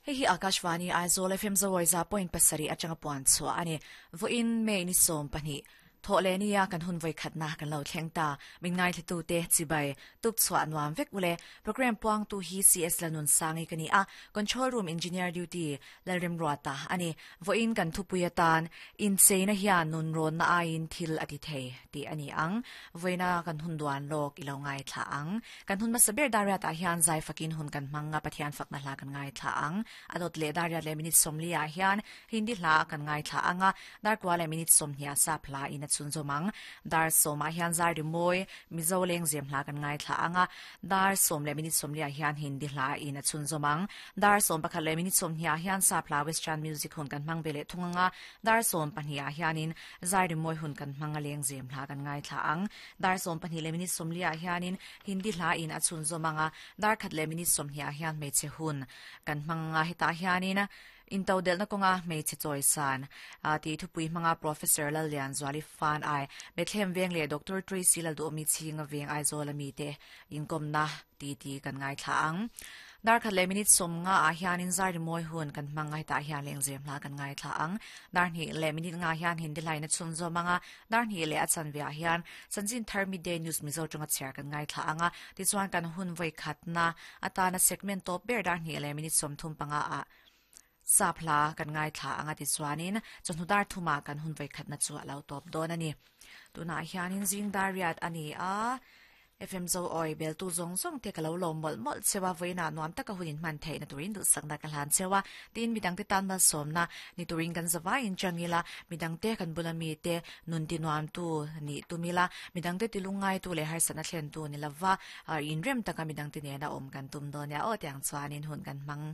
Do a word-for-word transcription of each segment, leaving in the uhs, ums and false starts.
Hei hi Akashvani Aizawl F M Zawi za point pasarih atanga puan chhuah a ni. Vawiin May ni sawm pahnih thawh leh nia kan hun vawi khatna kan lo thleng ta. Min ngaithla te chibai tuk chhuah nuam vek ule. Program puang tu hi C S Lanun Sangi ka ni a. Control room engineer duty Lalrim Ruata ani. Vawiin kan thupui atan in cheina hian nun rawn na aiin thil a ti thei ti ani ang. Vawiina kan hun duan lawk i lo ngai thla ang. Kan hun hmasa ber dariat ah hian zai fakin hun kan hmang nga Pathian fakna hla kan ngai thla ang. A dawt leh dariat leh minute sawmli ah hian Hindi hla kan ngai thla anga. Darkua leh minute sawmhnih ah sap hla in a chhun zawm ang. Dar sawm ah hian zai rimawi Mizo leng zem hla kan ngai thla anga. Dar sawm leh minute sawmli ah hian Hindi hla in a chhun zawm ang. Dar sawm pakhat leh minute sawmhnih ah hian sap hla Western music hun kan hmang ve leh thung anga. Dar sawm pahnih ah hianin zai rimawi hun kan hmang a leng zem hla kan ngai thla ang. Dar sawm pahnih leh minute sawmli ah hianin Hindi hla in a chhun zawm anga. Dar khat leh minute sawmhnih ah hian hmeichhe hun kan hmang anga hetah hianin in to delna kawnga hmeichhe chawi san ti thupui hmanga Professor Lallian Zuali Fan Ai Bethlehem Veng leh Doctor Tracy Lalduhmi Chhinga Veng Aizawl ami te inkawmna ti ti kan ngai thla ang. Dar khat leh minute sawm nga ah hianin zai rimawi hun kan hmang a hetah hian lengzem hla kan ngai thla ang. Dar hnih leh minute nga hian Hindi line a chhun zawm anga. Dar hnih leh a chanve ah hian Chanchin Thar Midday News Mizo tawnga chhiar kan ngai thla anga. Tichuan kan hun vawi khatna atana segment tawp ber dar hnih leh minute sawmthum panga ah sap hla kan ngai thla anga tichuanin chawhnu dar thuma kan hun vawi khatna chu a lo tawp dawn a ni. Tunah hianin zing dar riat a ni a. F M Zo Oi bel tu zawng zawng te ka lo lawm mawlh mawlh chewa vawiina nuam taka hun in hman theihna turin duhsakna ka hlan chewa. Tin midang te tan malsawmna ni turin kan zawaiin changila midang te kan bula mi te nun ti nuam tu ni tumila midang te tilungai tu leh harsatna thlen tu ni lova in rem taka midang te nena awm kan tum dawn nia aw tiang chuanin hun kan hmang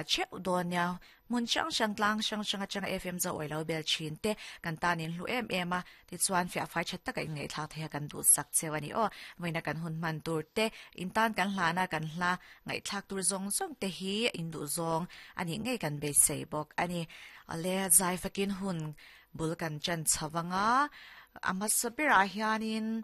cheuh dawn nia. Mun hrang hrang tlang hrang hrang atanga F M Zo Oi lo bel thin te kan tanin hlu em em a. Tichuan fiah fai that taka in ngaihthlak theih a kan duhsak cheu a ni aw. Vawiina kan hun hman tur te in tan kan hlana kan hla ngaihthlak tur zawng zawng te hi in duh zawng ani ngei kan beisei bawk ani. Ale zai fakin hun bul kan chan chawanga a hmasa berah hianin